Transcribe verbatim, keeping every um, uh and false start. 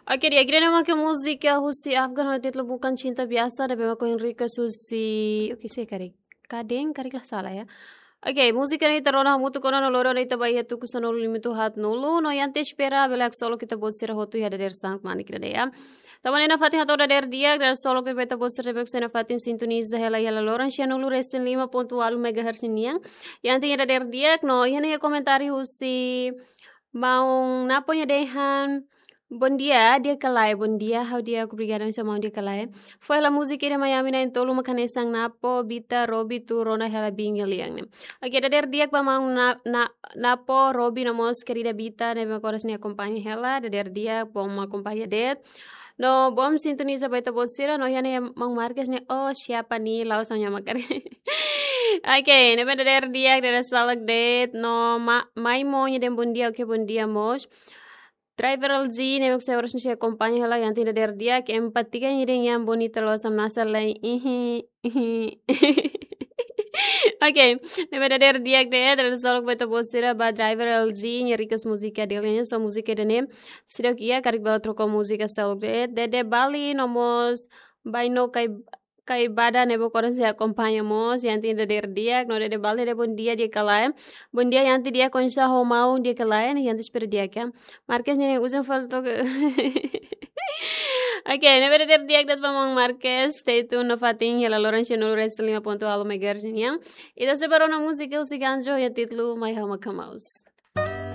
Oke, di'ak, ida-ne'e mak múzika husi Afgan ho títulu Bukan Cinta Biasa, ne'ebé mak ohin request husi, oke, se karik. Kadeng, karik la sala, ya. Oke, múzika ne'e ita rona hamutuk ona no loron ita ba iha tuku sanulu-lima-nulu-haat-nulu, no iha ita espera bele haksolok ita-boot sira hotu iha dadeer-saan kmanek ida-ne'e, ya. Tanba ne'e nafatin hato'o dadeer di'ak, dadeer-solok ba ita-boot sira ne'ebé sei nafatin sintoniza hela iha loron sia nulu resin lima pontu ualu megahertz nian. Iha ita dadeer di'ak, no iha ne'e komentáriu husi maun Napo nia dehan, "Bom dia, di'ak ka lae, bom dia, ha'u di'ak, obrigada, maun di'ak ka lae. Fó hela múzika ida mai ami na'in-tolu mak hanesan Napo, Bita, Robi, tuur ona hela biin nia lian ne'e." Oke, dadeer di'ak ba maun Na-, Na-, Napo, Robi, no mós kerida Bita, ne'ebé mak oras ne'e akompaña hela, dadeer di'ak, bom akompaña de'it. No bom sintoniza ba ita-boot sira, no iha ne'e maun Marques ne'e, "Oh, siapa nih, la'ós ha'u-nia makanan." Oke, ne'ebé dadeer di'ak, dadeer-solok de'it, no ma-, Maimo nia dehan bom dia, oke, bom dia mós. Driver L G, ne'ebé sei oras ne'e sei akompaña hela, iha ita dadeer di'ak, Empatika nia dehan bonita loos, hamnasa lai, ihi, ihi. Oke, ne'ebé dadeer di'ak de'it, dadeer-solok ba ita-boot sira ba Driver L G, nia request múzika dele nian, so múzika ida-ne'e seidauk iha, karik bele troka múzika seluk de'it. Dede Bali, no mós Baino Kai, Kai Bada ne'ebé oras ne'e sei akompaña mós, iha ita dadeer di'ak, no Dede Bali dehan bom dia, di'ak ka lae. Bom dia, iha ita di'ak, oinsá ho maun, di'ak ka lae, ne'e iha ita espera di'ak, ya. Marques ne'e uza falta ke. Oke, ne'ebé dadeer di'ak de'it ba maun Marques, stay tuned nafatin iha loron sia nulu resin lima pontu ualu megahertz nian. Ita sei ba rona múzika husi Ganjo, iha títulu Mai Ha'u Maka Maus.